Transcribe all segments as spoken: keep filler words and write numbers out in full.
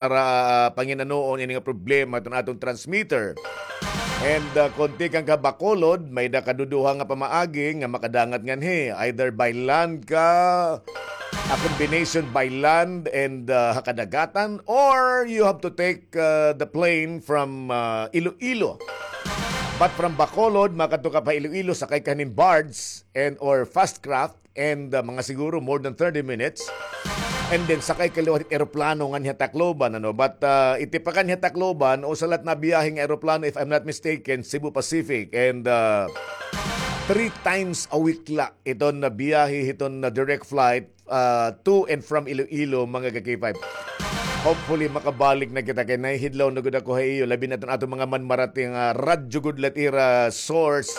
para, ah, panginanoon ini nga problema iton aton transmitter. And, ah, kon tikang ka Bacolod, may-ada ka duduha nga pamaagi nga makadangat nganhi, either by land ka, a combination by land and, ah, ha kadagatan, or you have to take, ah, the plane from, ah, Iloilo. But from Bacolod, makadto ka pa Iloilo, sakay ka nin barge and or fast craft, and, ah, mga siguro more than thirty minutes. And then, sakay ka liwat hit eroplano nganhi ha Tacloban, ano? But, ah, iti pa nganhi ha Tacloban, usa la it nabiyahe nga eroplano, if I'm not mistaken, Cebu Pacific. And, ah, three times a week la iton nabiyahe hiton na direct flight, ah, to and from Iloilo, mga ka-K five. Hopefully, makabalik na kita kay nahihidlaw na gud ako ha iyo, labi na iton aton mga manmarati nga radyo gud la it ira source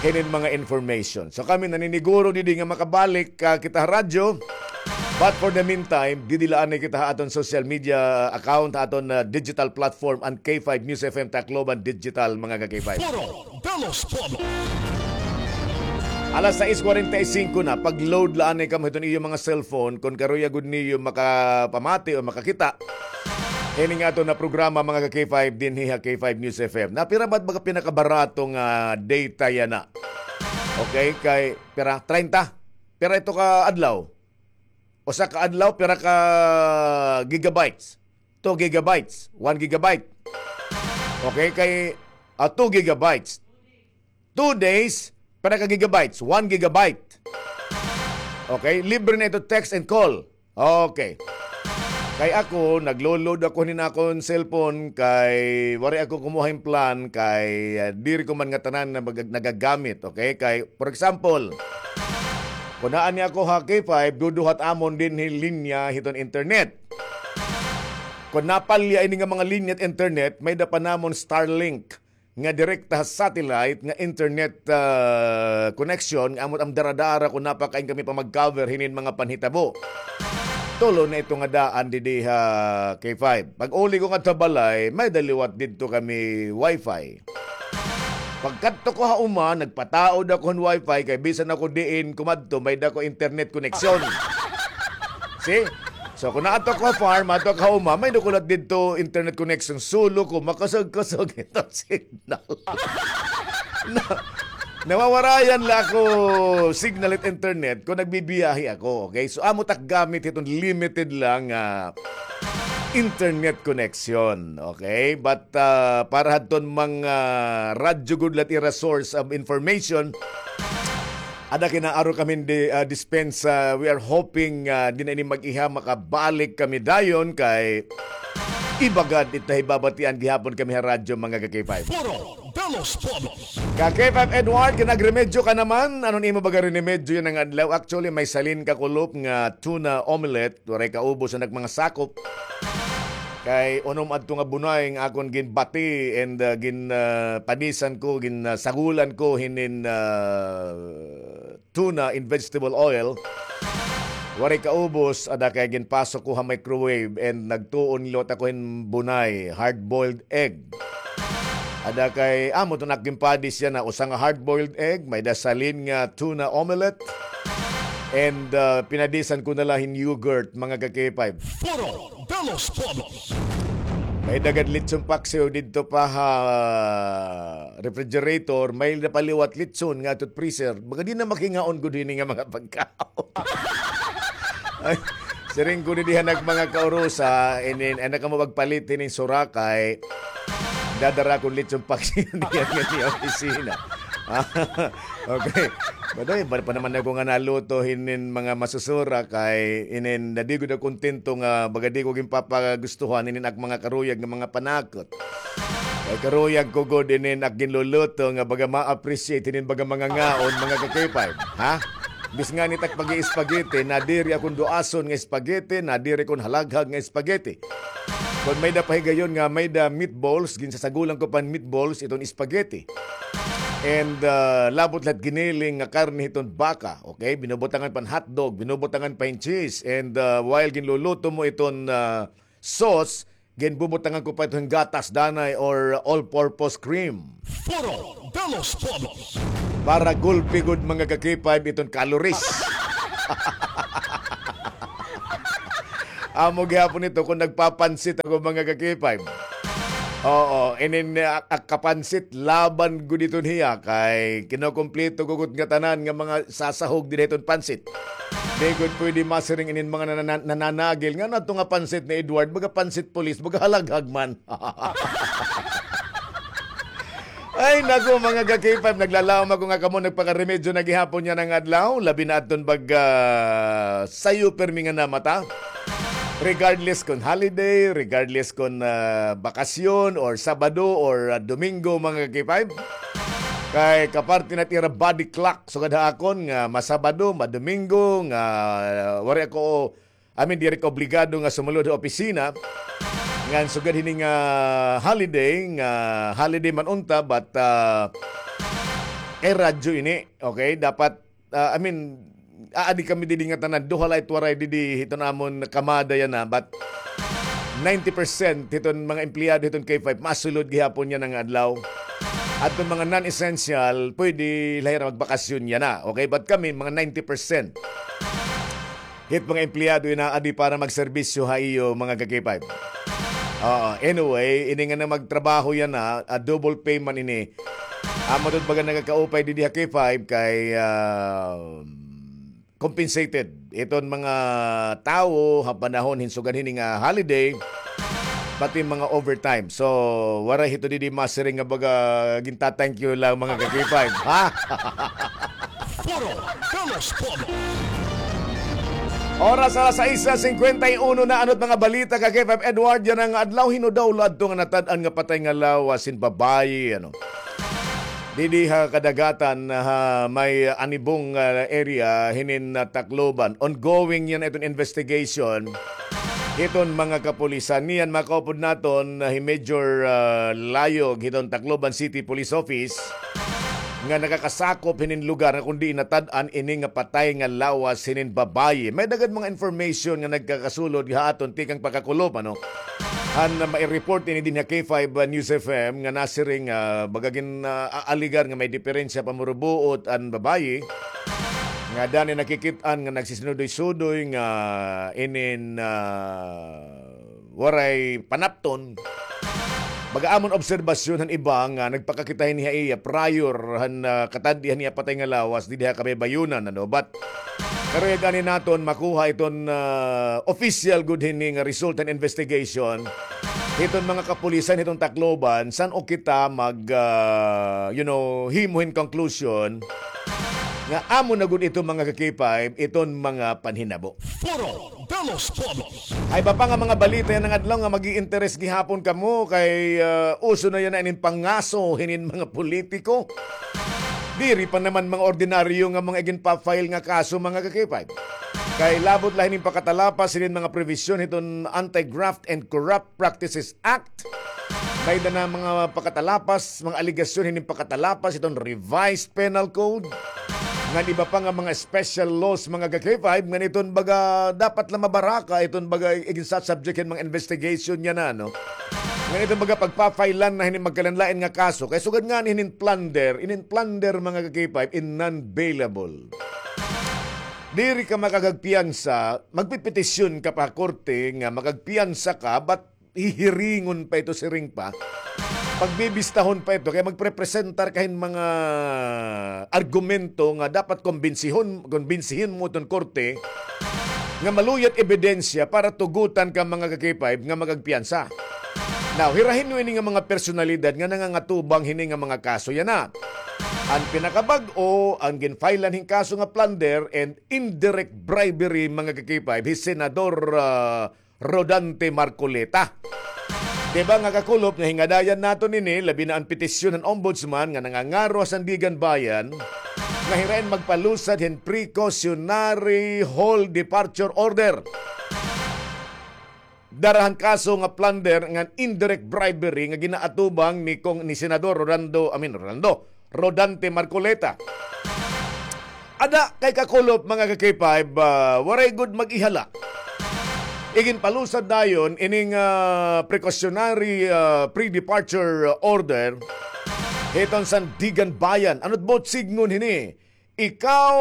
hinin mga information. So kami naniniguro didi nga makabalik, ah, kita ha radyo. But for the meantime, didi la anay kita ha aton social media account, ha aton, ah, digital platform, an K five News F M Tacloban Digital, mga ka-K five. Foro de los Pueblos. Alas sais kwarenta y singko na, pag-load la anay kamo hiton iyo mga cellphone, kon karuyag gud niyo makapamati o makakita hini nga aton na programa, mga ka-K five, dinhi ha K five News F M. Na pira ba, baga pinakabarato nga data yana? Okay, kay pira? Treinta? Pira ito ka adlaw? Usa ka adlaw, pira ka gigabytes? Two gigabytes, one gigabyte. Okay, kay, ah, two gigabytes. Two days, pira ka gigabytes? One gigabyte. Okay, libre na ito, text and call. Okay. Kay ako, naglo-load ako hinin akon cellphone kay waray ako kumuha hin plan kay, ah, diri ko man ngatanan na mag-, nagagamit, okay? Kay, for example, kon naa ni ako ha K five, duduha it amon dinhi linya hiton internet. Kon napalya ini nga mga linya hit internet, may-ada pa namon Starlink nga direkta ha satellite nga internet, ah, connection nga amo it am daradara kon naa pa kain kami pa mag-cover hinin mga panhitabo. Tulo na ito nga daan didi ha K five. Pag-uli ko ngadto ha balay, may-ada liwat didto kami wifi. Pagkadto ko ha uma, nagpataod ako hin wifi kay bisan ako diin kumadto, may-ada ko internet connection. See? So, kon naadto ako ha farm, adto ako ha uma, may-ada ko liwat didto internet connection. Sulo ko, makusog-kusog ito signal. Na, nawawarayan la ako signal it internet kon nagbibiyahe ako, okay? So, amo it ak gamit hiton limited la nga internet connection, okay? But, ah, para hadton mga radyo gud la it ira source of information, ada kay naaro kami di, ah, dispensa, we are hoping, ah, diri na ini mag-iha, makabalik kami dayon kay iba gad it nahibabatian gihapon kami ha radyo, mga ka-K five. Foro de los Pueblos. Ka-K five Edward, kay nagremedyo ka naman. Ano an imo baga rinemedyo yana nga adlaw? Actually, may salin ka kulop nga tuna omelette. Waray kaubos an ak mga sakop. Kay unom adto nga bunay nga akon ginbati and, ah, gin, ah, panisan ko, gin, ah, sagulan ko hinin, ah, tuna in vegetable oil. Waray kaubos, ada kay ginpasok ko ha microwave and nagtuon liwat ako hin bunay, hard-boiled egg. Ada kay, amo ito an ak ginpadis yana, usa nga hard-boiled egg, may-ada salin nga tuna omelette, and, ah, pinadisan ko na la hin yogurt, mga ka-K five. Foro de los Pueblos. May-ada gad litson paksiw didto pa ha refrigerator, may-ada pa liwat litson nga adto ha freezer. Baga diri na makingaon gud hini nga mga pagkaon. Ay, siring ko didi han ak mga kaurusa, inin, ay, na kamo magpalit hinin surakay. Dadara ko hin litson paksiw diyan nga niya opisina. Okay. Badoy, bal pa naman ako nga naluto hinin mga masusura kay inin nadi gud ako kontento nga baga di ko ginpapagustuhan inin ak mga karuyag nga mga panakot. Kay karuyag ko gud inin ak ginluluto nga baga ma-appreciate hinin baga mga ngaon, mga ka-K five, ha? Bis ngani it ak pag-i-spaghetti, nadiri akon duason nga spaghetti, nadiri kon halaghag nga spaghetti. Kon may-ada pa higayon nga may-ada meatballs, ginsasagulan ko pa hin meatballs iton spaghetti. And, ah, labot la it giniling nga karne hiton baka, okay? Binubutangan pa hin hotdog, binubutangan pa hin cheese. And, ah, while ginluluto mo iton, ah, sauce, ginbubutangan ko pa ito hin gatas danay or all-purpose cream. Foro de los Pueblos. Para gulpi gud, mga ka-K five, iton calories. Amo gihapon ito kon nagpapansit ako, mga ka-K five. Oo, inin, ah, ah, kapansit laban gud iton hiya kay kinukumpleto gud nga tanan nga mga sasahog dida hiton pansit. Di gud pwede masiring inin mga nanana-, nananagil nga nato nga pansit ni Edward, baga pansit pulis, baga halaghag man. Ay, naku, mga ka-K five, naglalaom ako nga kamo nagpakaremedyo na gihapon yana nga adlaw, labi na adton pag, ah, sayo pirmi nga namata. Regardless kon holiday, regardless kon, ah, bakasyon, or Sabado, or, ah, Domingo, mga ka-K five. Kay kaparte na it ira body clock, sugad ha akon nga masabado, madomingo, nga, ah, waray ako I mean, diri ka obligado nga sumulod ha opisina. Ngan sugad hini nga holiday, nga holiday man unta, but, ah, kay radyo ini, okay? Dapat, ah, I mean, aadi kami didi nga tanan, duha la it waray didi hiton amon kamada yana, but ninety percent hiton mga empleyado hiton K five, masulod gihapon yana nga adlaw. Adton mga non-essential, pwede la hira magbakasyon yana, okay? But kami, mga ninety percent. Hit mga empleyado inaadi para magserbisyo ha iyo, mga ka-K five. Oo, anyway, ini nga na magtrabaho yana, ah, double pay man ini. Amo ito baga nagakaupay didi ha K five kay, ah, compensated iton mga tawo ha panahon hin sugad hini nga holiday, pati mga overtime. So, waray hito didi masiring nga baga ginta-thank you lang, mga ka-K five, ha? Foro de los Pueblos. Oras alas sais cincuenta y uno na. Ano't mga balita, ka-K five Edward, yana nga adlaw? Hin-o daw la adto nga natad-an nga patay nga lawas hin babaye, ano? Didi ha kadagatan, ha may Anibong, ah, area hinin, ah, Tacloban. Ongoing yana iton investigation hiton mga kapulisan. Niyan makaupod naton, ah, hi Major, ah, Layog hiton Tacloban City Police Office nga nakakasakop hinin lugar nga kon diin natad-an ini nga patay nga lawas hinin babaye. May daghan mga information nga nagkakasulod ha aton tikang pagkakulop, ano? Han mai-report ini dinhi ha K five News F M nga nasiring, ah, baga gin, ah, aaligar nga may diperensya pamurubuot an babaye nga danay nakikit-an nga nagsisinudoy-sudoy nga inin, ah, waray panapton. Baga amon obserbasyon han iba nga nagpakakita hini ha iya prior han, ah, katad-i han iya patay nga lawas didi ha Kabaybayonan, ano? But karuyag ani naton makuha iton, ah, official gud hini nga result han investigation hiton mga kapulisan hiton Tacloban, san-o kita mag, ah, you know, himo hin conclusion nga amo na gud ito, mga ka-K five, iton mga panhinabo. Foro de los Pueblos. Ay, iba pa nga mga balita yana nga adlaw nga mag-i-interes gihapon kamo kay, ah, uso na yana inin pangaso hinin mga politiko. Diri pa naman mga ordinaryo nga mga iginpa-file nga kaso, mga ka-K five. Kay labot la hinin pakatalapas hinin mga provision hiton Anti-Graft and Corrupt Practices Act. May-ada na mga pakatalapas, mga alegasyon hinin pakatalapas hiton Revised Penal Code. Ngan iba pa nga mga special laws, mga ka-K five, ngan iton baga dapat la mabaraka iton baga iginsa-subject hin mga investigation yana, no? Ngan iton baga pagpa-file-an na hinin magkalain-lain nga kaso. Kay sugad ngani hinin plunder, inin plunder, mga ka-K five, in non-bailable. Diri ka makakagpiyansa, magpepetisyon ka pa ha korte nga makagpiyansa ka, but hihiringon pa ito, siring pa. Pagbibistahon pa ito, kay magprepresentar ka hin mga argumento nga dapat kombinsihon, kombinsihon mo iton korte nga maluya it ebidensya para tugutan ka, mga ka-K five, nga makagpiyansa. Now, hira hin-o ini nga mga personalidad nga nangangatubang hini nga mga kaso yana? An pinakabag-o, an ginfile-an hin kaso nga plunder and indirect bribery, mga ka-K five, hi Senador, ah, Rodante Marcoleta. Di ba nga kakulop nga hingadayan naton ini, labi na an petisyon han Ombudsman nga nangangaro ha Sandiganbayan nga hirain magpalusad hin precautionary hold departure order. Dara han kaso nga plunder ngan indirect bribery nga ginaatubang ni Cong-, ni Senador Rolando, I mean, Rolando, Rodante Marcoleta. Ada kay kakulop, mga ka-K five, ah, waray gud mag-ihala. Iginpalusad dayon ining, ah, precautionary, ah, pre-departure order hiton Sandiganbayan. Ano't buot sidngon hini? Ikaw,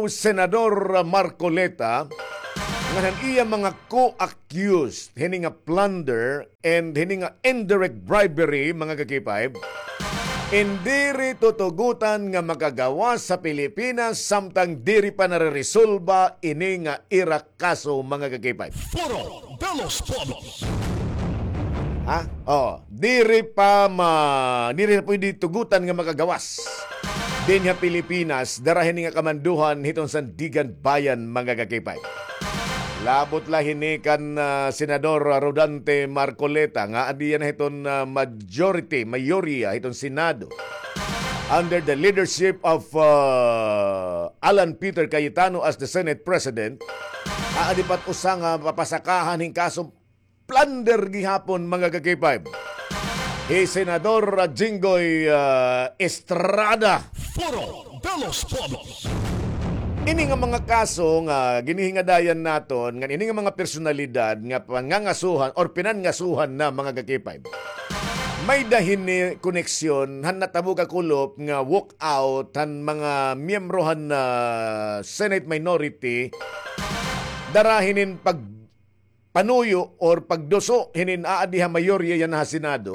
Senador Marcoleta, An iya mga co-accused hini nga plunder and hini nga indirect bribery, mga ka-K five, in diri tutugutan nga makagawas sa Pilipinas samtang diri pa nareresolba ini nga ira kaso, mga ka-K five. Foro de los Pueblos. Ha? Oh, diri pa ma-, diri na pwede tugutan nga makagawas dinhi ha Pilipinas, dara hini nga kamandohan hiton Sandiganbayan, mga ka-K five. Labot la hini kan, ah, Senador Rodante Marcoleta nga adi na hiton, ah, majority, mayorya hiton Senado under the leadership of, ah, Alan Peter Cayetano as the Senate President. Aadi pa it usa nga papasakahan hin kaso plunder gihapon, mga ka-K five. Hi Senador Jinggoy, ah, Estrada. Foro de los Pueblos. Ini nga mga kaso nga ginhihingadayan naton, nga ini nga mga personalidad nga pangangasuhan or pinangasuhan na, mga ka-K five, may-ada hini koneksyon han natabo kakulop nga walkout han mga miyembro han, ah, Senate minority, dara hinin pag panuyo or pagduso hinin aadi ha mayorya yana ha Senado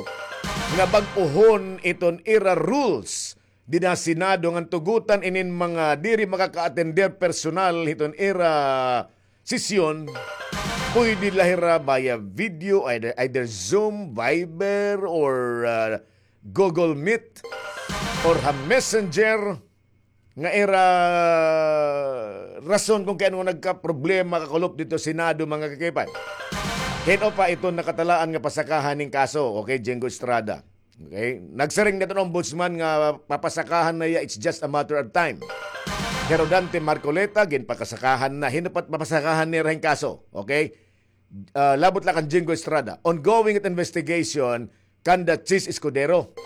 nga bag-ohon iton ira rules dida ha Senado ngan tugutan inin mga diri makaka-attender personal hiton ira sesyon. Pwede la hira via video, either, either Zoom, Viber, or, ah, Google Meet, or ha Messenger. Nga ira rason kon kay ano nagkaproblema kakulop didto Senado, mga ka-K five. Hin-o pa iton nakatalaan nga pasakahan hin kaso, okay, Jinggoy Estrada. Okay? Nagsiring na iton ombudsman nga papasakahan na hiya, it's just a matter of time. Hi Rodante Marcoleta, ginpakasakahan na. Hin-o pa it papasakahan nira hin kaso, okay? Ah, labot la kan Jinggoy Estrada. Ongoing it investigation kanda Chiz Escudero.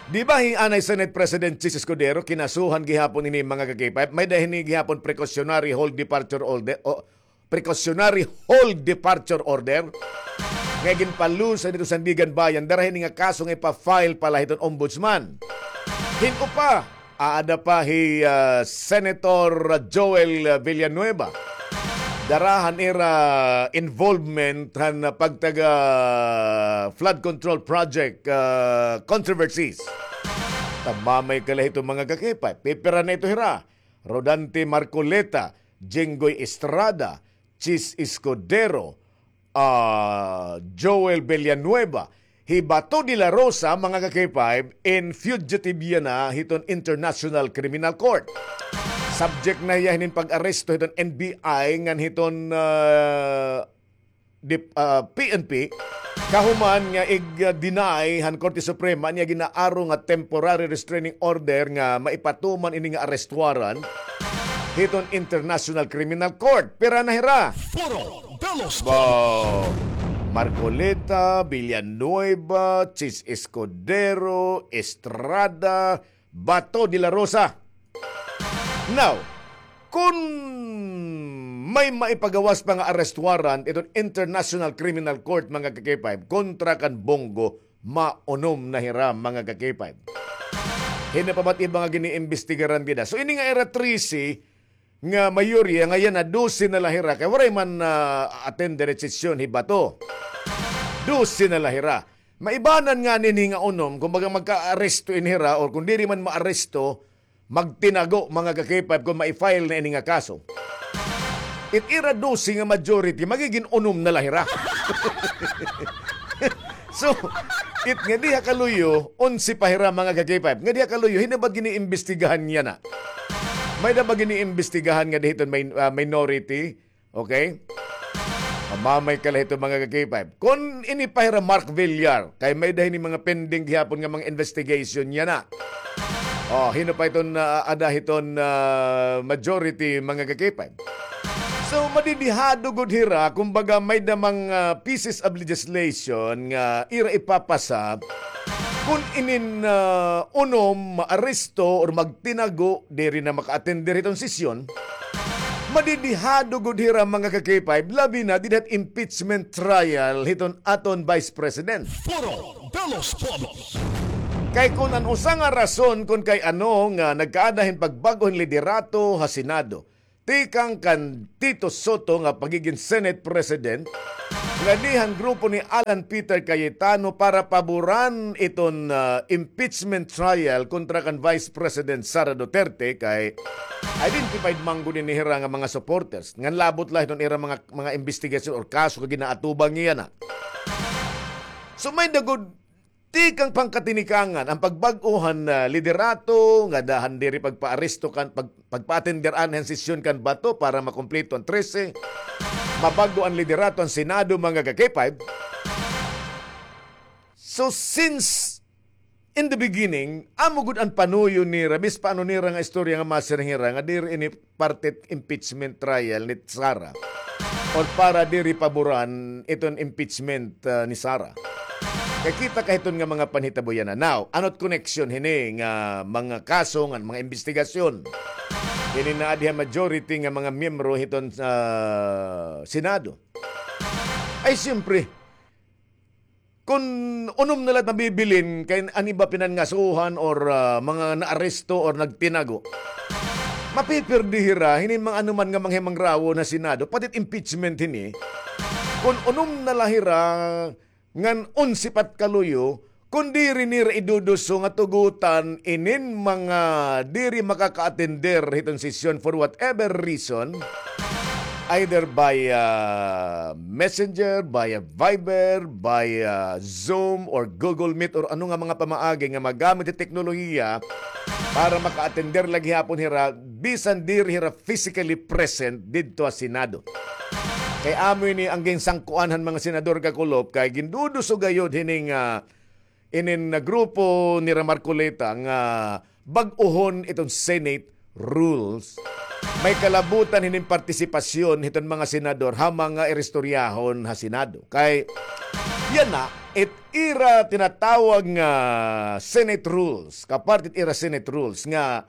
Di ba hi anay Senate President Chiz Escudero, kinasuhan gihapon ini, mga ka-K five? May-ada hini gihapon precautionary hold departure order, o, precautionary hold departure order nga ginpalusa didto Sandiganbayan, dara hini nga kaso nga ipa-file pa la hiton ombudsman. Hin-o pa, aada pa hi, ah, Senator Joel Villanueva. Dara han ira involvement han pagtaga flood control project, ah, controversies. Tamamay ka la hito, mga ka-K five. Pipira na ito hira. Rodante Marcoleta, Jinggoy Estrada, Chiz Escudero, ah, Joel Villanueva, hi Bato de la Rosa, mga ka-K five, in fugitive yana hiton International Criminal Court. Subject na hiya hinin pag-aresto hiton N B I ngan hiton, ah, dip-, ah, P N P, kahuman nga ig-deny han Korte Suprema niya gin-aaro nga temporary restraining order nga maipatuman ini nga arrest warrant hiton International Criminal Court. Pira na hira? Foro de los Ba-, Marcoleta, Villanueva, Chiz Escudero, Estrada, Bato de la Rosa. Now, kon may maipagawas pa nga arrest warrant iton International Criminal Court, mga ka-K five, kontra kan Bong Go, maunom na hira, mga ka-K five. Hin-o pa ba it iba nga giniimbestigaran dida? So, ini nga ira trese nga mayorya, nga yana dose na la hira, kay waray man, ah, attend dida sesyon hi Bato. Dose na la hira. Maibanan ngani ini nga unom, kon baga magkaaresto ini hira, or kon diri man maaresto, magtinago, mga ka-K five, kon mai-file na ini nga kaso. It ira dose nga majority, magigin unom na la hira. So, it ngadi ha kaluyo, onse pa hira, mga ka-K five. Ngadi ha kaluyo, hin-o ba it giniimbestigahan yana? May-ada ba giniimbestigahan ngadi hiton min-, ah, minority? Okay? Tamamay ka la hito, mga ka-K five. Kon ini pa hira Mark Villar, kay may-ada hini mga pending gihapon nga mga investigation yana. Oh, hin-o pa iton, ah, aada hiton, ah, majority, mga ka-K five. So, madidihado gud hira, kumbaga, may-ada mga, ah, pieces of legislation nga ira ipapasa, kon inin, ah, unom maaresto or magtinago, diri na maka-attend dida hiton sesyon, madidihado gud hira, mga ka-K five, labi na dida hit impeachment trial hiton aton Vice President. Foro de los Pueblos. Kay kon an usa nga rason kon kay ano nga nagkaada hin pagbag-o hin liderato ha Senado, tikang kan Tito Soto nga pagigin Senate President, ngadto han grupo ni Alan Peter Cayetano para paboran iton, ah, impeachment trial kontra kan Vice President Sara Duterte, kay identified man gud ini hira nga mga supporters. Ngan labot la hiton ira mga, mga imbestigasyon or kaso nga ginaatubang yana. So, may-ada gud tikang pangkatinikangan an pagbag-o han, ah, liderato, ngada han diri pagpaaresto kan, pag-, pagpa-attender anay han sesyon kan Bato para makumpleto an trese. Mabag-o an liderato han Senado, mga ka-K five. So, since in the beginning, amo gud an panuyo nira, bisan pa ano nira nga istorya nga masiring hira, nga diri ini parte impeachment trial ni Sara or para diri paboran iton impeachment, ah, ni Sara. Kay kita ka hiton nga mga panhitabo yana. Now, ano it connection hini nga mga kaso, nga mga imbestigasyon? Hini nga adi ha majority nga mga miyembro hiton sa Senado. Ay, siyempre, kun unom na la it mabibilin kay an iba pinangasuhan or, ah, mga naaresto or nagtinago, mapipirdi hira hini mga anuman nga mga himangrawon ha Senado, pati it impeachment hini. Kun unom na la hira ngan onse pa it kaluyo, kun diri nira iduduso nga tugutan inin mga diri makaka-attender hiton sesyon for whatever reason, either by, ah, messenger, by, ah, Viber, by, ah, Zoom or Google Meet or ano nga mga pamaagi nga magamit it teknolohiya para maka-attender la gihapon hira, bisan diri hira physically present didto ha Senado. Kay amo ini an ginsangkuan han mga senador, kakulop, kay ginduduso gayod hini nga inin nga grupo nira Marcoleta nga bag-ohon iton Senate rules. May kalabutan hinin partisipasyon hiton mga senador ha mga iristoryahon ha Senado. Kay yana, it ira tinatawag nga Senate rules, kaparte it ira Senate rules nga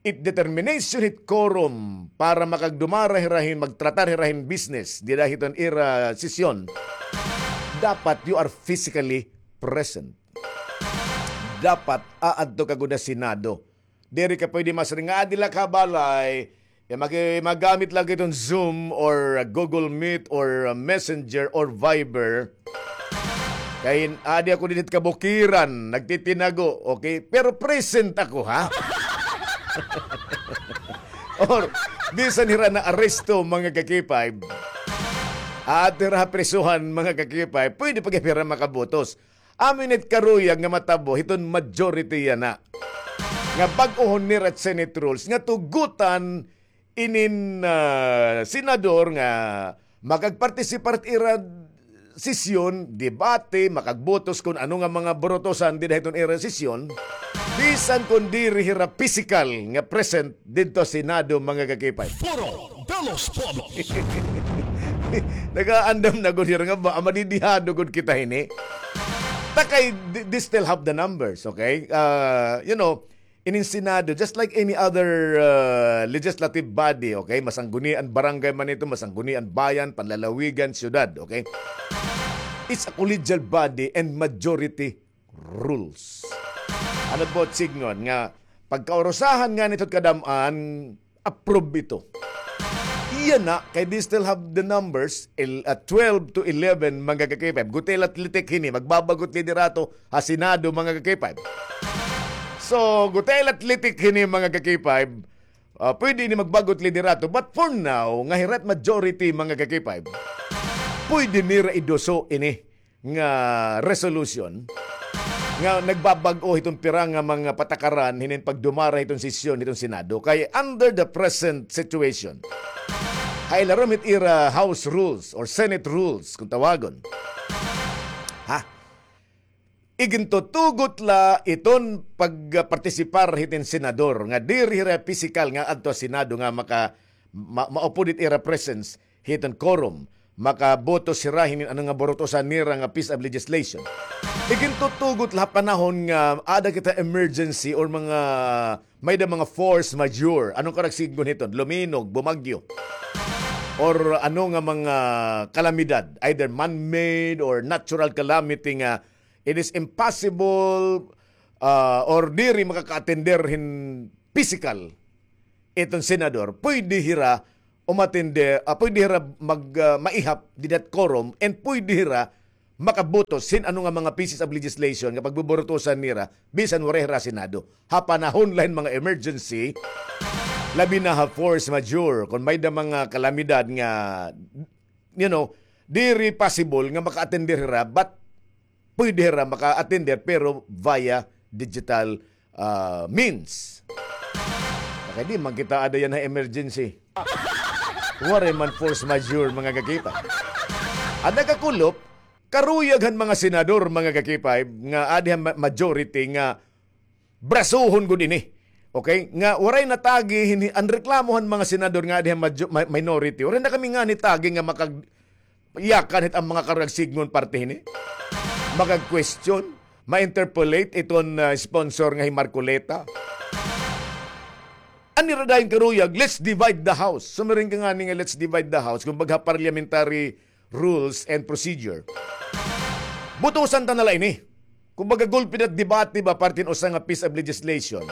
it determination hit quorum para makagdumara hira hin magtratar hira hin business dida hiton ira sesyon, dapat you are physically present. Dapat aadto ka gud ha Senado. Diri ka pwede masiring nga, "Ah, dida la ha balay." Ya, magi-, magamit la gud iton Zoom or, uh, Google Meet or, uh, Messenger or Viber. Kay adi ako dinhi ha kabukiran, nagtitinago, okay? Pero present ako, ha? Or, bisan hira naaresto, mga ka-K five. Aadto hira ha prisuhan, mga ka-K five, pwede pa gihap hira makabotos. Amo ini it karuyag nga matabo hiton majority yana nga bag-ohon nira it Senate rules nga tugutan inin, ah, senador nga makagpartisipar hit ira sesyon, debate, makagbotos kon ano nga mga burutosan dida hiton ira sesyon, bisan kon diri hira pisikal nga present didto ha Senado, mga ka-K five. Foro de los Pueblos. Nagaandam na gud hira nga ba, madidihado gud kita hini. Ta kay, th-, they still have the numbers, okay? Ah, you know, inin Senado, just like any other, ah, legislative body, okay? Masanggunian barangay man ito, masanggunian bayan, panlalawigan, syudad, okay? It's a collegial body and majority rules. Ano po, sidngon nga, pagkaurusahan ngani hit kadam-an, approve ito. Yana, kay they still have the numbers, el-, ah, twelve to eleven, mga ka-K five. Gutiay la it litik hini, magbag-o it liderato ha Senado, mga ka-K five. So, gutiay la it litik hini, mga ka-K five. Ah, pwede ini magbag-o it liderato, but for now, nga hira it majority, mga ka-K five, pwede nira iduso ini nga resolution nga nagbabag-o hiton pira nga mga patakaran hinin pagdumara hiton sesyon hiton Senado. Kay under the present situation, ha ilarom hit ira House rules or Senate rules, kung tawagon, ha, igintutugot la iton pagpartisipar hitin senador nga diri hira pisikal nga adto ha Senado nga maka-, ma-, maupod it ira presence hiton quorum, makaboto hira hinin ano nga burutosan nira nga piece of legislation. Igintutugot la ha panahon nga aada kita emergency or mga, may-ada mga force majeure. Ano ka nagsidngon hiton? Luminog, bumagyo. Or ano nga mga kalamidad, either man-made or natural calamity nga it is impossible, ah, or diri makaka-attender hin pisikal iton senador, pwede hira umatinde, ah, pwede hira mag, ah, maihap dida hit quorum, and pwede hira makabutos hin ano nga mga pieces of legislation nga pagbuburutosan nira bisan waray hira Senado. Ha panahon la hin mga emergency, labi na ha force majeure, kon may-ada mga kalamidad nga, you know, diri possible nga maka-attend hira, but pwede hira maka-attend pero via digital, ah, means. Kay di man kita aada yana ha emergency. Waray man force majeure, mga kakipay. An nakakulop, karuyag han mga senador, mga kakipay, nga aada ha ma-, majority nga brasohon gud ini. Okay? Nga waray natagi hin-, an reklamo han mga senador nga aada ha majo-, mi-, minority. Waray na kami ngani tagi nga makag-, yakan hit an mga karuyag sidngon parte hini. Makag-question, ma-interpolate iton, ah, sponsor nga hi Marcoleta. An ira dayon karuyag, let's divide the house. Sumiring ka ngani nga let's divide the house. Kumbaga, parliamentary rules and procedure. Butusan ta na la ini. Kumbaga, gulpi na debate ba parte hin usa nga piece of legislation.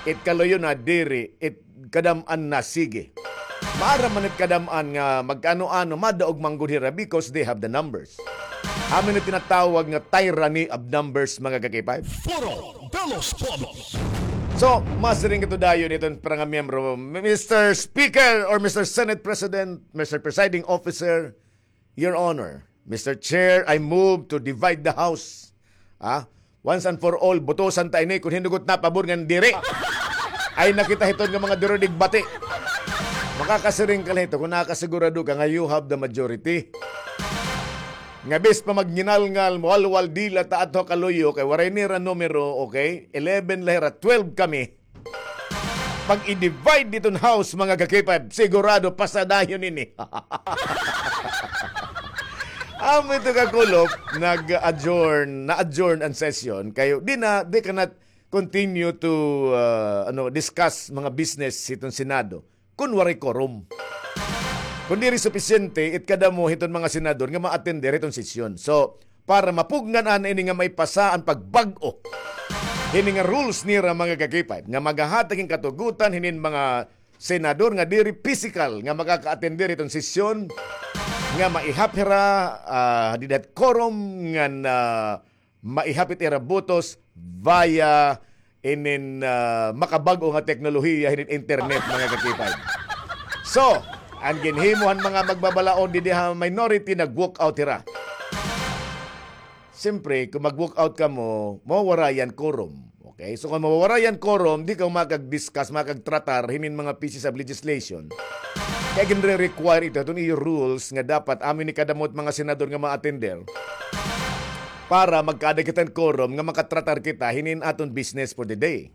It kaluyo na diri, it kadam-an na sige. Maaram man it kadam-an nga magkaano-ano, madaog man gud hira because they have the numbers. Amo ini tinatawag nga tyranny of numbers, mga kakipay. Foro de los Pueblos. So, masiring ito dayon iton para nga miyembro, Mister Speaker or Mister Senate President, Mister Presiding Officer, Your Honor, Mister Chair, I move to divide the House. Ah, once and for all, butusan ta ini kon hin-o gud napabor ngan diri. Ay, nakita hiton nga mga duro digbati. Makakasiring ka la hito kon nakasigurado ka nga you have the majority. Nga bis pa magnginalngal, mawalwal dila ta adto kaluyo, kay waray nira numero, okay? Eleven la hira, twelve kami. Pag i-divide diton house, mga kakipay, sigurado pasadayon ini. Amo ito kakulop, nag-adjourn, na-adjourn an session, kay di na, they cannot continue to, uh, ano, discuss mga business hiton Senado kon waray quorum. Kon diri supisyente it kadamo hiton mga senador nga ma-attend hiton sesyon. So, para mapugngan an ini nga maipasa an pagbag-o hini nga rules nira, mga kakipay, nga magahatag hin katugotan hinin mga senador nga diri pisikal nga makaka-attend hiton sesyon, nga maihap hira, ah, dida hit quorum ngan, ah, maihap it ira botos via inin, ah, makabag-o nga teknolohiya hinin internet, mga kakipay. So, an ginhimo han mga magbabalaod didi ha minority, nag-walk out hira. Siyempre, kon mag-walk out kamo, mawawara an quorum. Okay? So, kon mawawara an quorum, di kamo makag-discuss, makagtratar hinin mga pieces of legislation. Kay ginre-require ito, iton iyo rules nga dapat amo ini kadamo it mga senador nga ma-attend para magkaada kita hin quorum nga makatratar kita hinin aton business for the day.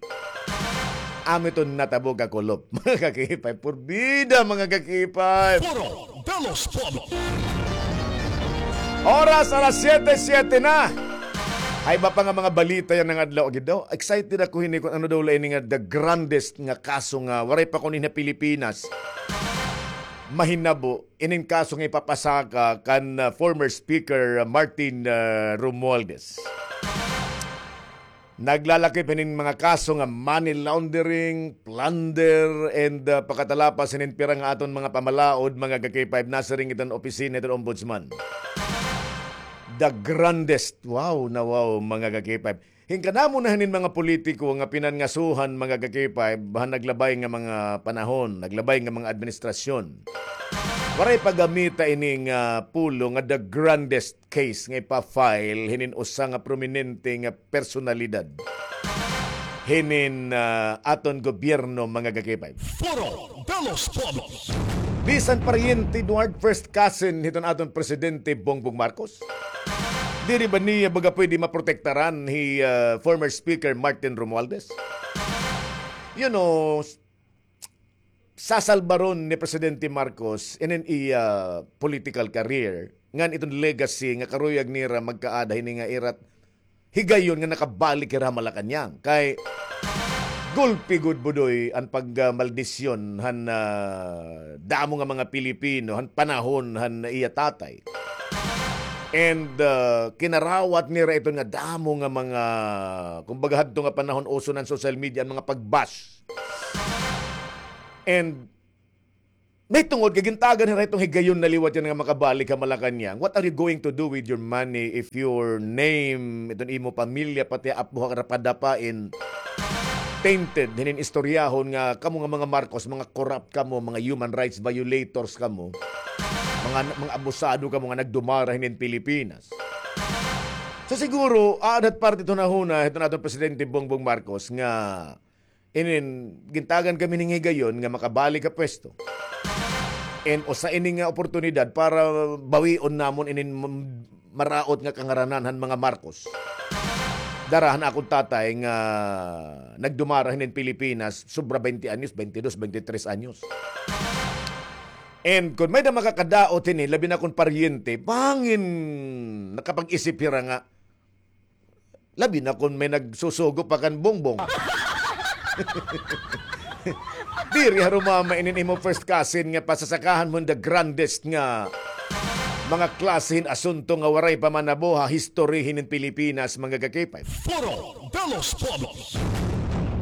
Amo iton natabo, kakulop, mga kakipay. Purbida, mga kakipay. Foro de los Pueblos. Oras alas siyete, siyete na. Ay, iba pa nga mga balita yana nga adlaw, gid daw. Excited ako hini kon ano daw la ini nga the grandest nga kaso nga waray pa kuno ha Pilipinas mahinabo, inin kaso nga ipapasaka kan, ah, former Speaker, ah, Martin, ah, Romualdez. Naglalakip hinin mga kaso nga money laundering, plunder, and, ah, pakatalapas hinin pira nga aton mga pamalaod, mga ka-K five, nasiring iton opisina iton Ombudsman. The grandest. Wow na wow, mga ka-K five. Hin kadamo na hinin mga politiko nga pinangasuhan, mga ka-K five, han naglabay nga mga panahon, naglabay nga mga administrasyon. Waray pa gamita ini nga pulong nga the grandest case nga ipa-file hinin usa nga prominente nga personalidad hinin, ah, aton gobyerno, mga ka-K five. Foro de los Pueblos. Bisan paryente, Eduard, first cousin hiton aton Presidente Bongbong Marcos. Diri ba niya baga pwede maprotektaran hi, ah, former Speaker Martin Romualdez? You know, sasalbaron ni Presidente Marcos inin iya political career, ngan iton legacy nga karuyag nira magkaada hini nga ira higayon nga nakabalik hira ha Malacañang. Kay gulpi gud, Budoy, an pagmaldisyon han, ah, damo nga mga Pilipino han panahon han iya tatay. And, ah, kinarawat nira iton nga damo nga mga, kumbaga, hadto nga panahon uso na an social media, an mga pag-bash. And May tungod kay gintagan hira hiton higayon na liwat yana nga makabalik ha Malacañang. What are you going to do with your money if your name, iton imo pamilya, pati apo ha rapadapain, tainted hinin istoryahon nga kamo nga mga Marcos, mga corrupt kamo, mga human rights violators kamo, mga, mga abusado kamo nga nagdumara hinin Pilipinas. So siguro, aada ha parte iton hunahuna hiton aton Presidente Bongbong Marcos nga inin gintagan kami nin higayon nga makabalik ha pwesto. And usa ini nga oportunidad para bawion namon inin m-, maraot nga kangaranan han mga Marcos. Dara han akon tatay nga nagdumara hinin Pilipinas, sobra baynte anyos, baynte dos, baynte tres anyos. And kon may-ada makakadaot hini, labi na kon paryente, bangin nakapag-isip hira nga, labi na kon may nagsusugo pa kan Bongbong. Diri harumama inin imo first cousin nga pasasakahan mo hin the grandest nga mga klase hin asunto nga waray pa man nabuha history hinin Pilipinas, mga ka-K five. Foro de los Pueblos.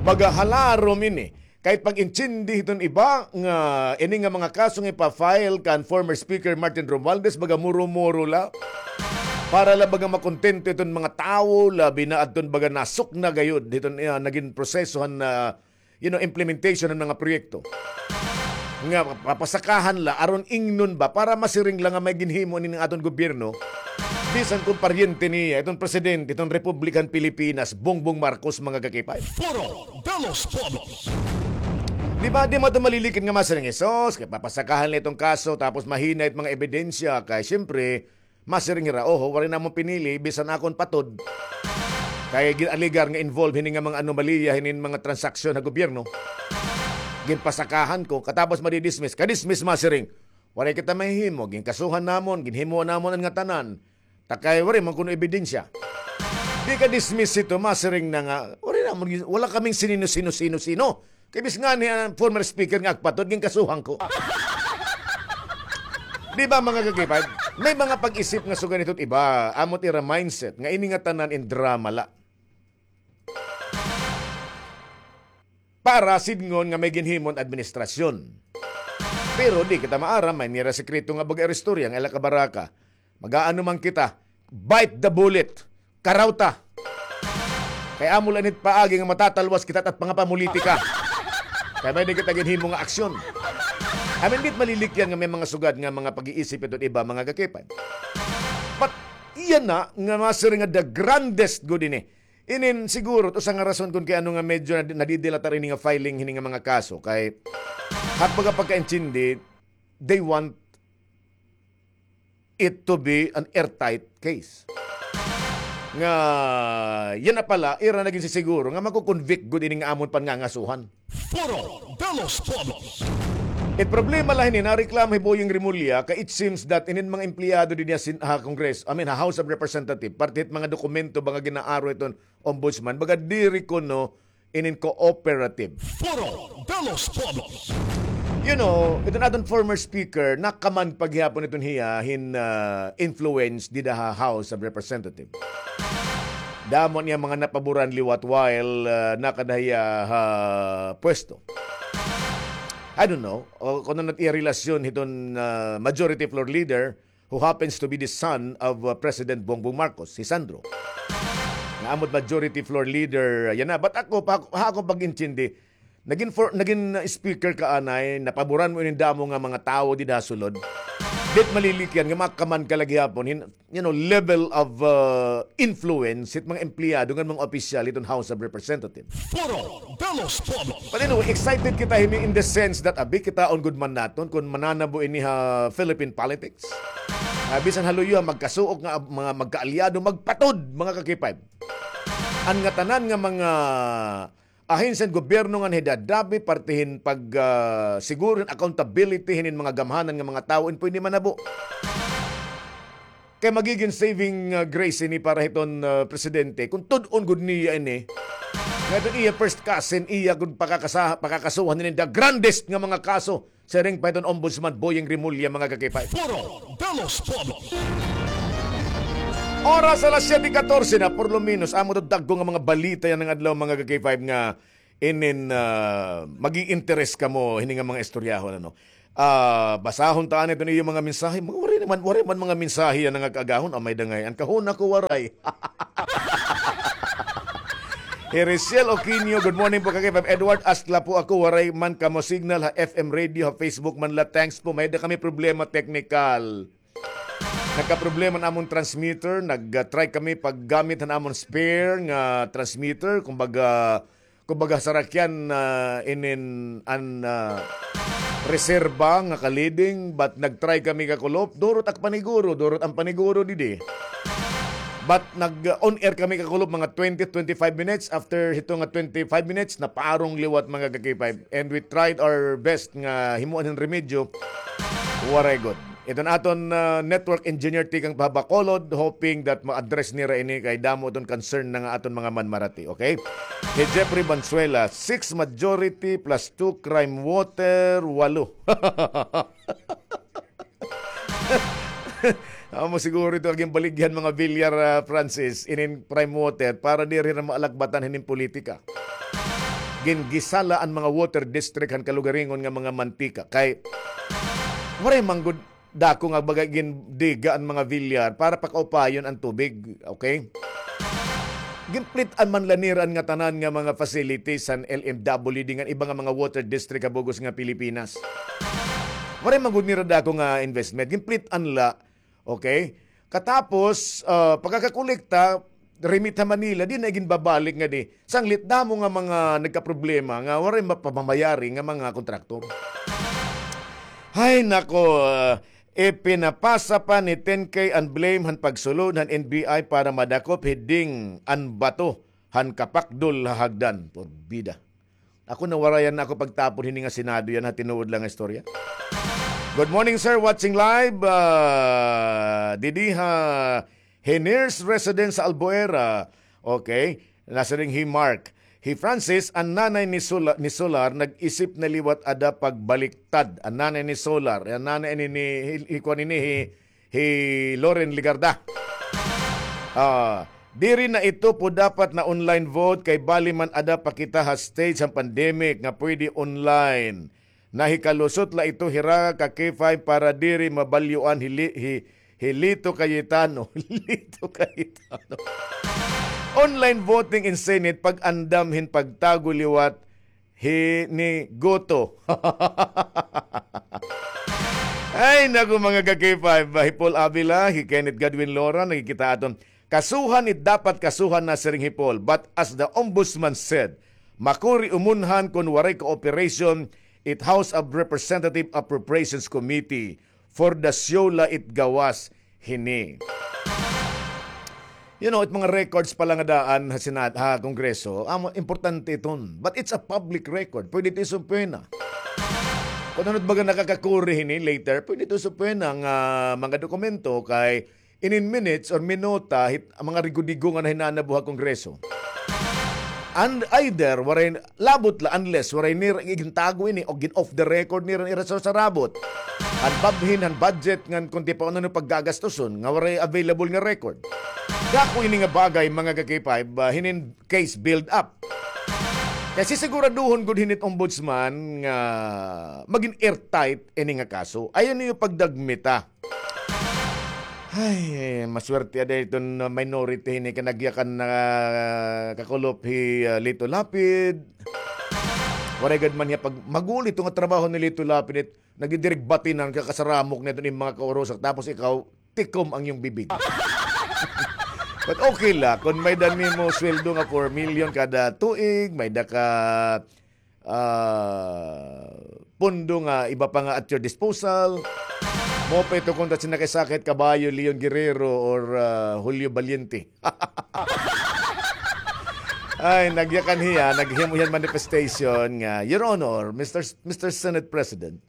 Baga halarom ini. Kay pag-intindi hiton iba nga ini nga mga kaso nga ipa-file kan former Speaker Martin Romualdez, baga muro-muro la. Para la baga makontento iton mga tawo, labi na adton baga nasukna gayod hiton, ah, nagin proseso han, ah, you know, implementation han mga proyekto. Nga papasakahan la, aron ingnon ba, para masiring la nga may ginhimo ini nga aton gobyerno, bisan kon paryente niya, iton presidente, iton Republika han Pilipinas, Bongbong Marcos, mga ka-K five. Foro de los Pueblos. Di ba, di mo ito malilikit nga masiring, "Sus, kay papasakahan la iton kaso, tapos mahina it mga ebidensya." Kay, siyempre, masiring hira, "Oho, waray namon pinili, bisan akon patod. Kay gin-alegar nga involved hini nga mga anomalya, hinin mga transaksyon ha gobyerno. Ginpasakahan ko, katapos madidismiss." Kadismiss, masiring, "Waray kita mahihimo, ginkasuhan namon, ginhimo namon an ngatanan. Ta kay waray man kuno ebidensya." Di ka-dismiss ito, masiring na nga, "Waray namon gin-, wala kaming sinino, sino, sino, sino. Kay bis ngani an former speaker nga agpatod, ginkasuhan ko." Di ba, mga ka-K five? May mga pag-isip nga sugad hito't iba, amo't ira mindset, nga ini nga tanan in drama la. Para sidngon nga may ginhimon administrasyon. Pero di kita maaram, may nira sekreto nga baga istorya nga ila kabaraka. Mag-aano man kita, bite the bullet. Karawta. Kay amo la ini it paagi nga matatalwas kita it pangapamulitika. Kay may-ada kita ginhimo nga aksyon. I mean, di it malilikyan nga may mga sugad nga mga pag-iisip hito't iba, mga ka-K five. But, iya na nga masiring nga the grandest gud ini. Inin siguro, it usa nga rason kon kay ano nga medyo nadi-, nadidilatar ini nga filing hini nga mga kaso. Kay, ha pagka-, pagkaintindi, they want it to be an airtight case. Nga, yana pala, ira nagin sisiguro nga mako-convict gud ini nga amon pangangasuhan. Foro de los Pueblos. It problema la hini, nareklamo hi Boying Remulla, kay it seems that inin mga empleyado dinhi ha Sin-, ha Congress, I mean, ha House of Representative, parte hit mga dokumento ba nga gin-aaro hiton Ombudsman, baga diri kuno inin cooperative. Foro de los Pueblos. You know, iton aton former speaker, nakaman pa gihapon iton hiya hin, ah, influence dida ha House of Representative. Damo niya mga napaboran liwat while, ah, nakada hiya ha pwesto. I don't know, o, kon ano it iya relasyon hiton, ah, majority floor leader, who happens to be the son of, uh, President Bongbong Marcos, hi Sandro. Nga amo it majority floor leader, yana. But ako, pa, ha akon pag-intindi, nagin for, nagin, uh, speaker ka anay, napaboran mo inin damo nga mga tawo dida ha sulod. Di it malilikyan nga makaman ka la gihapon hin, you know, level of, uh, influence hit mga empleyado ngan mga opisyal hiton House of Representatives. Foro de los Pueblos. But anyway, excited kita hini in the sense that abi kitaon gud man naton kon mananabo ini ha Philippine politics. Ah, bisan ha luyo ha magkasuok nga ab-, mga magkaalyado, magpatod, mga ka-K five. An ngatanan nga mga ahensya han gobyerno ngan hidadabi parte hin pag, ah, siguro hin accountability hinin mga gamhanan nga mga tawo in pwede manabo. Kay magigin saving, ah, grace ini para hiton, ah, presidente. Kon tud-on gud niya ini, nga iton iya first cousin, iya gud pakakasa-, pakakasuhan ini the grandest nga mga kaso. Siring pa hiton Ombudsman Boying Remulla, mga ka-K five. Foro de los Pueblos. Oras alas siyete katorse na, por lo menos, amo to dagko nga mga balita yana nga adlaw, mga ka-K five, nga inin, ah, mag-i-interes kamo hini nga mga istoryahon, ano. Ah, basahon ta anay iton iyo mga mensahe. Mga waray naman, waray man mga mensahe yana nga kaagahon. Amay da ngay-an. Kahuna ko waray. Hericiel Oquino, good morning po, Kakay Five. Edward, asla po ako, waray man kamo signal ha F M radio, ha Facebook man la. Thanks po. May da kami problema technical. Nagkaproblema an amon transmitter, nag-try kami paggamit han amon spare nga transmitter, kumbaga, kumbaga sarakyan, ah, inin an, ah, reserba nga ka-leading, but nag-try kami kakulop, durot ak paniguro, durot an paniguro didi. But nag-on air kami kakulop mga twenty, twenty-five minutes. After hito nga twenty-five minutes, naparong liwat mga ka-K five. And we tried our best nga himuan hin remedyo. Waray gud. Iton aton, ah, network engineer tikang pa ha Bacolod, hoping that ma-address nira ini kay damo iton concern na nga aton mga manmarati, okay? Kay Jeffrey Banzuela, six majority plus two crime water, walo. Amo siguro ito an ginbaligya han mga Villar, ah, Francis, inin crime water para diri na maalakbatan hinin politika. Gingisa la an mga water district han kalugaringon nga mga mantika. Kay, waray man gud dako nga baga gindiga an mga Villar para pakaupayon an tubig, okay? Ginplit-an man la nira an ngatanan nga mga facilities han L M W D ngan iba nga mga water district ha bug-os nga Pilipinas. Waray man gud nira dako nga investment. Ginplit-an la, okay? Katapos, ah, pagkakakolekta, remit ha Manila, di na iginbabalik ngadi. Sanglit damo nga mga nagkaproblema nga waray mapamamayari nga mga kontraktor. Hay nako, ah, ipinapasa pa ni Ten K an blame han pagsulod han N B I para madakop hi Ding an bato han kapakdol ha hagdan. Porbida. Ako, nawarayan na ako pagtapon hini nga Senado yana ha tinuod la nga istorya. Good morning, sir. Watching live, ah, didi ha Heners Residence sa Albuera. Okay. Nasiring hi Mark. Hi Francis, an nanay ni Sola-, ni Solar, nag-isip na liwat ada pagbaliktad. An nanay ni Solar, an nanay ni, ni, hi, hi, kuan ini, hi, hi Loren Legarda. Ah, diri na ito po dapat na online vote kay bali man ada pa kita ha stage han pandemic nga pwede online. Nahikalusot la ito hira ka K five para diri mabalyoan hi Li-, hi, hi Lito Cayetano. Lito Cayetano. Online voting in Senate pag-andam hin pagtago liwat hi ni Goto. Ay, naku, mga ka-K five, hi Paul Avila, hi Kenneth Godwin Lora, nakikita aton. Kasuhan it dapat kasuhan na siring hi Paul. But as the ombudsman said, makuri umunhan kon waray cooperation it House of Representative Appropriations Committee for the show la it gawas hini. You know, it mga records pala nga daan ha Senat, ha Kongreso, amo, importante iton. But it's a public record. Pwede ito isubpoena. Kon ano it baga nakakakuri hini later, pwede ito isubpoena nga mga dokumento kay inin minutes or minuta hit, mga rigo-digo nga nahinanabo ha Kongreso. And either, waray, labot la, unless waray nira igintago ini o gin-off the record nira, nira sa sarabot. Han babhin, han budget, ngan kon ti pa ano paggagastuson, nga waray available nga record. Dako ini nga bagay, mga ka-K five, ah, hinin case build up. Kay sisiguraduhon gud hini it ombudsman nga magin airtight ini nga kaso. Ayaw niyo pagdagmita. Ay, maswerte ada iton minority hini kay nagyakan na kakulop hi, ah, Lito Lapid. Waray gad man hiya pag-, maguol ito nga trabaho ni Lito Lapid it nagdidirig batinan ka kasaramok niya iton mga kaurusak tapos ikaw tikom ang iyong bibig. But okay la, kon may-ada nimo sweldo nga four million kada tuig, may-ada ka ah, pondo nga iba pa nga at your disposal. Mao pa ito kon ta sinakay-sakay it kabayo, Leon Guerrero or, ah, Julio Valiente. Ay, nagyakan hiya, naghimo hiya hin manifestation nga, "Your Honor, Mister S-, Mister Senate President,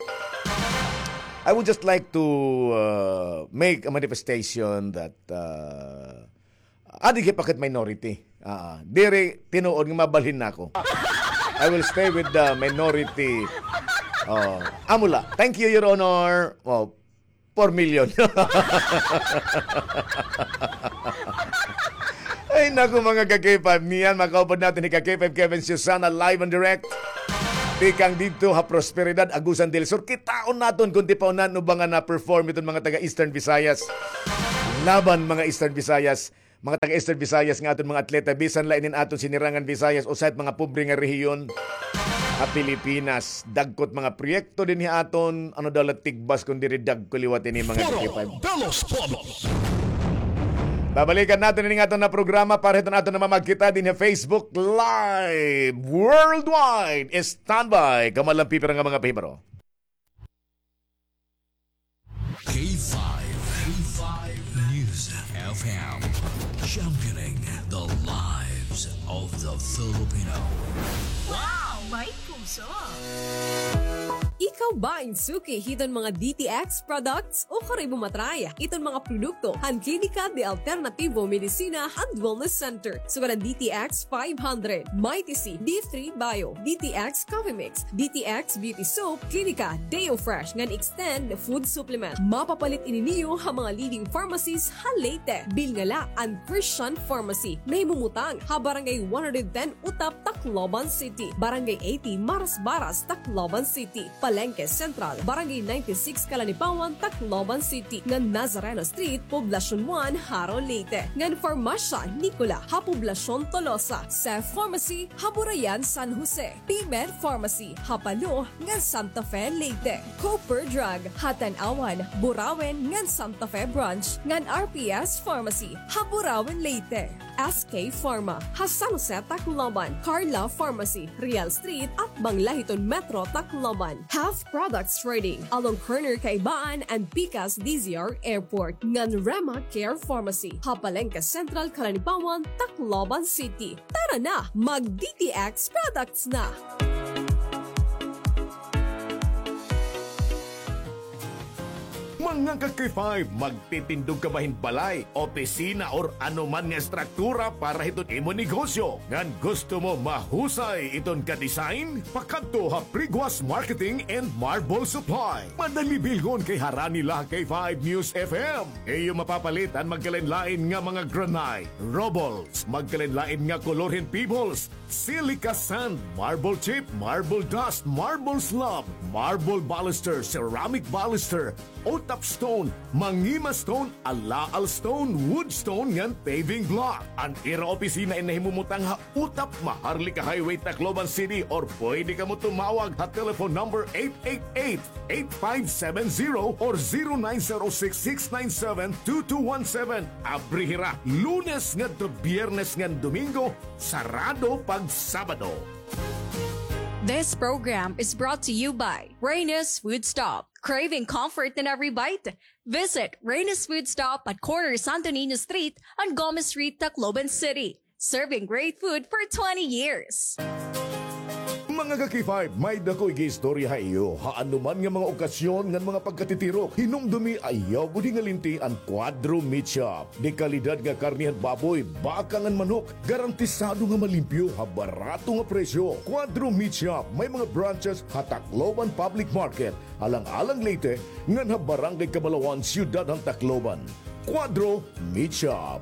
I would just like to, uh, make a manifestation that, uh, adi kay pakit minority. Ah, diri tinuod nga mabalhin nako. I will stay with the minority." Oh, amo la. Thank you, Your Honor. Oh, four million. Ay, naku, mga ka-K five. Niyan, makaupod natin ni ka-K five Kevin Susana live and direct. Tikang didto ha Prosperidad, Agusan del Sur, kitaon naton kon tipaon na ano ba nga na-perform iton mga taga Eastern Visayas. Laban mga Eastern Visayas, mga taga Eastern Visayas nga aton mga atleta, bisan la inin aton sinirangan Visayas, usa it mga pobre nga rehiyon ha Pilipinas. Dagko it mga proyekto dinhi aton, ano daw la tigbas kon diri dagko liwat ini mga K five. Babalikan naton ini nga aton na programa para hiton aton namamagkita dinhi ha Facebook Live Worldwide. Standby. Kamo la an pipira nga mga pahibaro. K five, K five News F M, championing the lives of the Filipino. Wow! May puso! Ikaw ba in suki hiton mga D T X products? Ukon imo matry iton mga produkto han Klinika de Alternativo Medicina and Wellness Center, sugad an D T X five hundred, Mighty C, D three Bio, D T X Coffee Mix, D T X Beauty Soap, Klinika Deo Fresh ngan Extend Food Supplement. Mapapalit ini niyo ha mga leading pharmacies ha Leyte. Bilnga la an Christian Pharmacy, nahimumutang ha Barangay one hundred ten Utap, Tacloban City, Barangay eighty Marasbaras, Tacloban City, Palengke Central, Barangay ninety-six Calanipawan, Tacloban City, ngan Nazareno Street, Poblacion one, Jaro, Leyte, ngan Farmasya Nicola ha Poblacion Tolosa, Seth Pharmacy ha Burayan, San Jose, P-Med Pharmacy ha Palo ngan Santa Fe, Leyte, Cooper Drug ha Tanauan, Burauen ngan Santa Fe Branch, ngan R P S Pharmacy ha Burauen, Leyte, S K Pharma ha San Jose, Tacloban, Carla Pharmacy, Real Street, atbang la hiton Metro Tacloban, Health Products Trading along corner Kaibaan and Pikas D Z R Airport, ngan Rema Care Pharmacy ha Palengke Central, Calanipawan, Tacloban City. Tara na, mag D T X products na! Mga ka-K five, magtitindog ka ba hin balay, opisina, or ano man nga estruktura para hiton imo negosyo? Ngan gusto mo mahusay iton ka-design? Pakadto ha Priguas Marketing and Marble Supply. Madali bilngon kay harani la ha K five News F M. Iyo mapapalit an magkalain-lain nga mga granite, rubbles, magkalain-lain nga kolor hin pebbles, silica sand, marble chip, marble dust, marble slab, marble baluster, ceramic baluster, utap stone, mangima stone, alaal stone, wood stone, ngan paving block. An ira opisina in nahimumutang ha Utap, Maharlika Highway, Tacloban City, or pwede kamo tumawag ha telephone number eight eight eight, eight five seven zero or zero nine zero six, six nine seven, two two one seven. Abri hira Lunes ngadto Biyernes ngan Domingo, sarado pag Sabado. This program is brought to you by Reyna's Food Stop. Craving comfort in every bite? Visit Reyna's Food Stop at corner Santo Niño Street and Gomez Street, Tacloban City. Serving great food for twenty years. Mga ka-K five, may-ada ko igiistorya ha iyo. Ha anuman nga mga okasyon ngan mga pagkatitirok, hinumdumi ayaw gud hingalinti an Cuadro Meat Shop. Dekalidad nga karne han baboy, baka ngan manok, garantisado nga malimpyo ha barato nga presyo. Cuadro Meat Shop, may mga branches ha Tacloban Public Market, Alang-alang, Leyte, ngan ha Barangay Cabalawan, Siyudad han Tacloban. Cuadro Meat Shop.